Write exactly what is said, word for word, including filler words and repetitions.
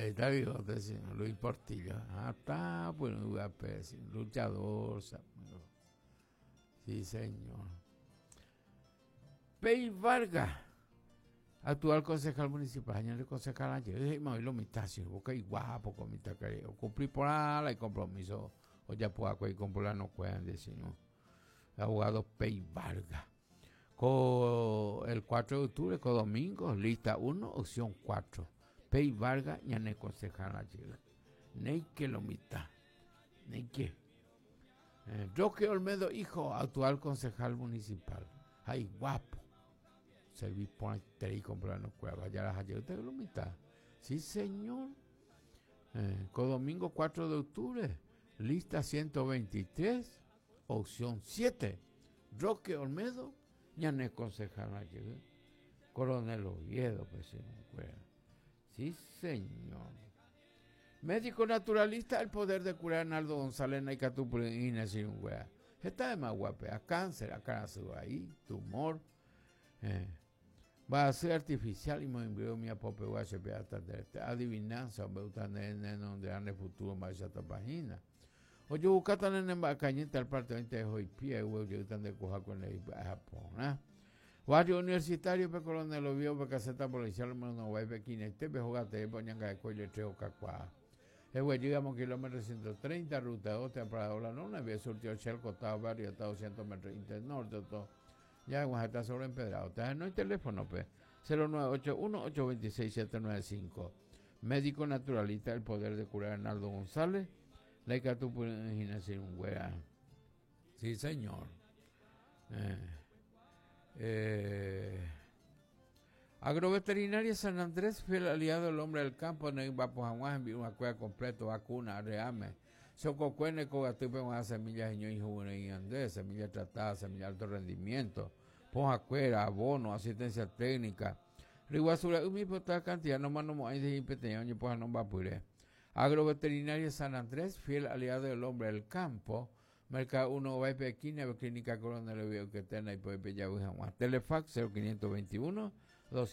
Está bigote, sí, Luis Portillo. Ah, está, bueno, sí, luchador. Sí, señor. Pey Vargas, actual concejal municipal, año concejal ayer, lo mitad, sí, porque guapo, con mitad que cumplí por ala y compromiso, o ya puedo y comprar no pueden decir, no. Abogado Pey Vargas. Con el cuatro de octubre, con domingo, lista uno, opción cuatro. Pey Vargas, ñane concejal ayer. Neike lo mitad. Neike. Eh, Roque Olmedo, hijo, actual concejal municipal. Ay, guapo. Serví por tres y comprar no cueva. Ya las ayer usted lo mitad. Sí, señor. Eh, con domingo cuatro de octubre, lista ciento veintitrés, opción siete. Roque Olmedo, ñane concejal ayer. Coronel Oviedo, pues sí, no. Sí, señor. Médico naturalista, el poder de curar Arnaldo González Naicatupurina sin un wea. Está de más guape, a cáncer, a cáncer ahí, tumor. Eh, va a ser artificial y me envió mi apope hasta adivinanza, me gusta en donde ande futuro más esta página. O yo buscatan en Embacañita el parte veinte de hoy pie, yo tan de coja con el Japón, ¿eh? Barrio universitario, pe coronel Oviedo, pe caseta policial, no va pe quinete, pe jugate, pe ñanga de coile, treo cacuá. El güey, llegamos kilómetro ciento treinta, ruta dos, te ha la nona, había surtido Shell, costado barrio, está doscientos metros internorte, todo. Ya, Oaxaca está sobre empedrado. Entonces, no hay teléfono, pues. cero nueve ocho uno, ocho veintiséis, siete nueve cinco. Médico naturalista, el poder de curar Arnaldo González. La güera. Sí, señor. Eh, eh, Agroveterinaria San Andrés, fiel aliado del hombre del campo, en el Bapojaguán, envió una cueva completo, vacuna, reame. Sococuene, cogatupe, una semilla, y andés, semilla tratada, semilla de alto rendimiento, pojacuera, abono, asistencia técnica. Riguazura, un mismo cantidad, no más no hay de impeteño, pues no va a puré. Agroveterinaria San Andrés, fiel aliado del hombre del campo, Mercado uno, va a Clínica Coronel Oviedo, que tiene y puede pillar Telefax cero quinientos veintiuno, doscientos